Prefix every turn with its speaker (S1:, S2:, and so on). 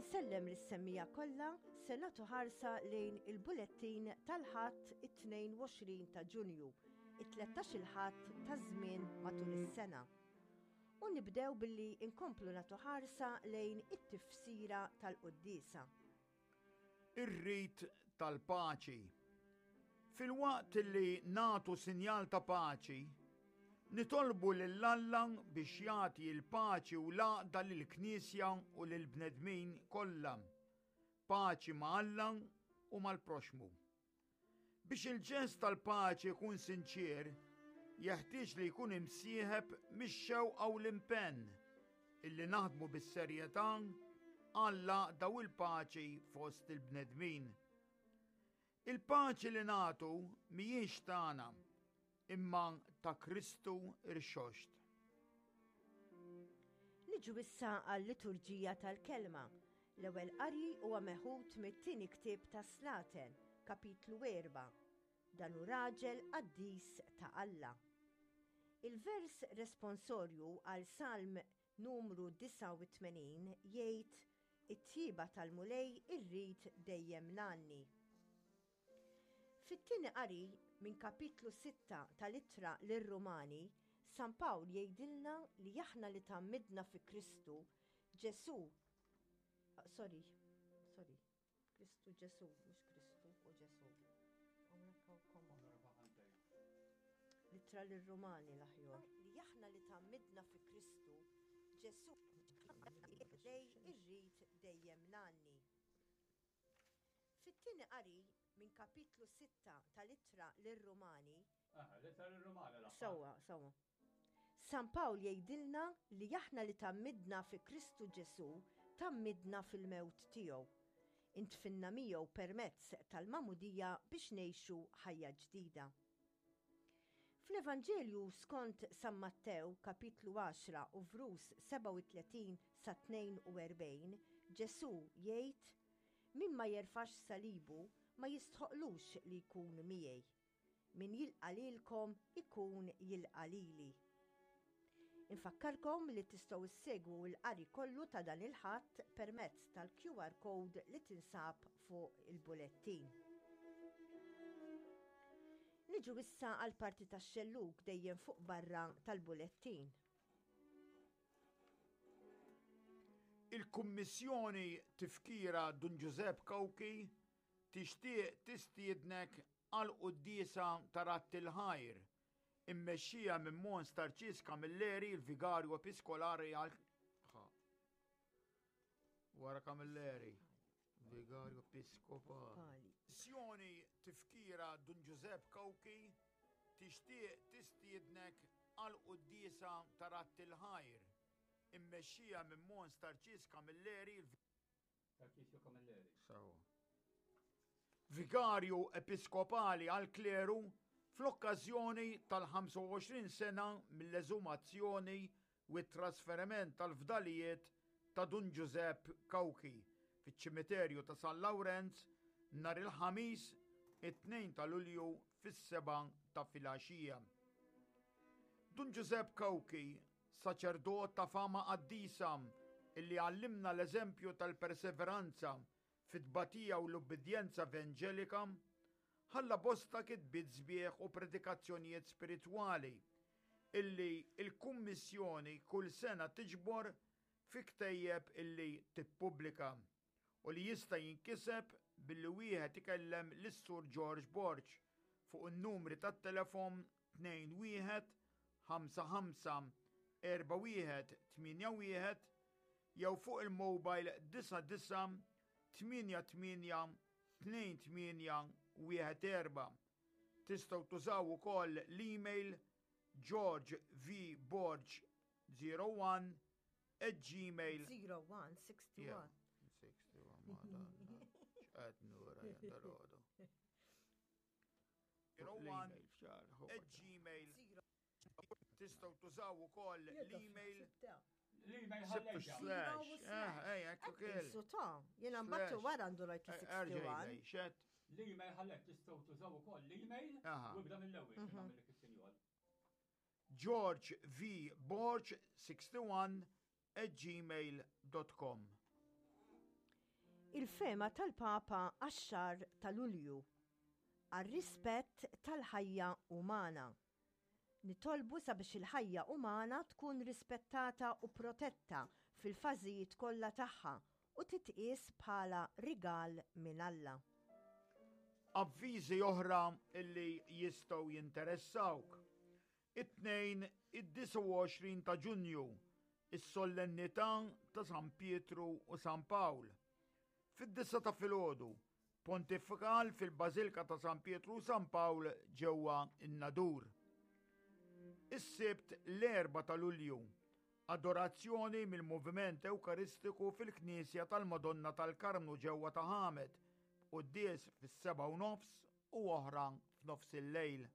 S1: Insellem lis-semmiegħa kollha, se nagħtu ħarsa lejn il-bulettin tal-Ħadd it-22 ta' Ġunju, it-tlettax-il Ħadd taż-żmien matul is-sena. U nibdew billi nkomplu nagħtu ħarsa lejn it-tifsira tal-quddiesa.
S2: Ir-rit tal-paċi. Filwaqt li nagħtu sinjal ta' paċi, nitolbu lil Alla biex jagħti l-paċi u l-għaqda lill-Knisja u lill-bnedmin kollha, paċi ma' Alla u mal-proxxmu. Biex il-ġest tal-paċi jkun sinċier, jeħtieġ li jkun imsieħeb mix-xewqa u l-impenn illi naħdmu bis-serjetà għall-għaqda u l-paċi fost il-bnedmin. Il-paċi li nagħtu mhijiex tagħna, imma ta' Kristu rxoxt.
S1: Niġu issa għal-liturġija tal-kelma. L-ewwel qari huwa meħud mit-tieni ktieb ta' Slaten, kapitlu 4. Dan hu raġel qaddis ta' Alla. Il-vers responsorju għal Salm numru 89 jgħid it-tjieba tal-Mulej irrid dejjem ngħanni. Fit-tieni qari minn kapitlu sitta tal-Ittra lir-Rumani, San Pawl jgħidilna li aħna li tgħammidna fi Kristu Ġesù, sorry, sorry, Kristu Ġesù, mhux Kristu u Ġesù. L-Ittra lir-Rumani l-aħjar. Li aħna li tgħammidna fi Kristu Ġesù lej irrid dejjem ngħanni. Fit-tieni qari minn kapitlu sitta tal-Ittra lir-Rumani,
S3: Aha, l-Ittra lir-Rumani l-aħħar.
S1: Sewwa, sewwa. San Pawl jgħidilna li aħna li tgħammidna fi Kristu Ġesù tgħammidna fil-mewt tiegħu. Intfinna miegħu permezz tal-magħmudija biex ngħixu ħajja ġdida. Fl-Evanġelju skont San Mattew, kapitlu 10 u vrus 37 sa 42, Ġesù jgħid, Min ma jerfax salibu ma jistħoqqlux li jkun miegħi. Min jilqa' lilkom ikun jilqa' lili. Infakkarkom li tistgħu ssegwu l-qari kollu ta' dan il-Ħadd permezz tal-QR code li tinsab fuq il-bulettin. Niġu issa għall-parti tax-xellug dejjem fuq barra tal-bulettin.
S2: Il-Kummissjoni Tifkira Dun Ġużepp Cauchi tixtieq tistiednek għall-quddiesa ta' Radd il-Ħajr immexxija minn Mons Tarċis Camilleri, il-Vigarju Episkolari għal Wara Camilleri. Vigarju Episkopali. Sjoni tifkira Dun Ġużepp Cauchi tixtieq tistiednek għal quddiesa ta' Radd il-Ħajr, immexxija minn Mons Tarċis Camilleri,
S3: Tarċisju Camilleri.
S2: Sewwa. Vigarju Episkopali għall-Kleru fl-okkażjoni tal-25 sena mill-eżumazzjoni u t-trasferiment tal-fdalijiet ta' Dun Ġużepp Cauchi fiċ-Ċimiterju ta' San Lawrenz nhar il-Ħamis it-2 ta' Lulju fis-sebgħa ta' filgħaxija. Dun Ġużepp Cauchi, saċerdot ta' fama qaddisa illi għallimna l-eżempju tal-perseveranza fit-tbatija u l-ubbidjenza evanġelika, ħalla bosta kitbiet sbieħ u predikazzjonijiet spiritwali illi l-Kummissjoni kull sena tiġbor fi ktejjeb illi tippubblika u li jista' jinkiseb billi wieħed ikellem lis-Sur George Borg fuq in-numri tat-telefon 21 55 41 81 jew fuq il-mobile 99 88 28 14. Tistgħu tużaw ukoll l-email georgevborg01 at gmail
S1: 01 61.
S2: 61 madonna. X'qed nura jien dal-għodu. 01 at gmail Tistgħu tużaw ukoll l-email.
S3: L-email
S2: Sibtu slash. Eh, ej, ekku kiel.
S1: Su ta' jena mbattu wara għandu rajt li 61.
S2: Xed.
S3: L-email ħallek tistgħu tużaw ukoll l-email u ibda mill-ewwel mhm. nagħmellek is-sinjol.
S2: George V. Borg 61 at gmail dot com.
S1: Il-fehma tal-Papa għax-xahar ta' Lulju, għar-rispett tal-ħajja umana. Nitolbu sabiex il-ħajja umana tkun rispettata u protetta fil-fażijiet kollha tagħha u titqies bħala rigal minn Alla.
S2: Avviżi oħra li jistgħu jinteressawk. It-Tnejn, id-29 ta' Ġunju, is-Sollennità ta' San Pietru u San Pawl. Fid-disgħa ta' filgħodu, Pontifikal fil-Bażilka ta' San Pietru u San Pawl ġewwa n-Nadur. Is-Sibt l-4 ta' Lulju, Adorazzjoni mill-Moviment Ewkaristiku fil-Knisja tal-Madonna tal-Karmnu ġewwa Ta' Ħamed, b'quddies fis-sebgħa u nofs u oħra f'nofs il-lejl.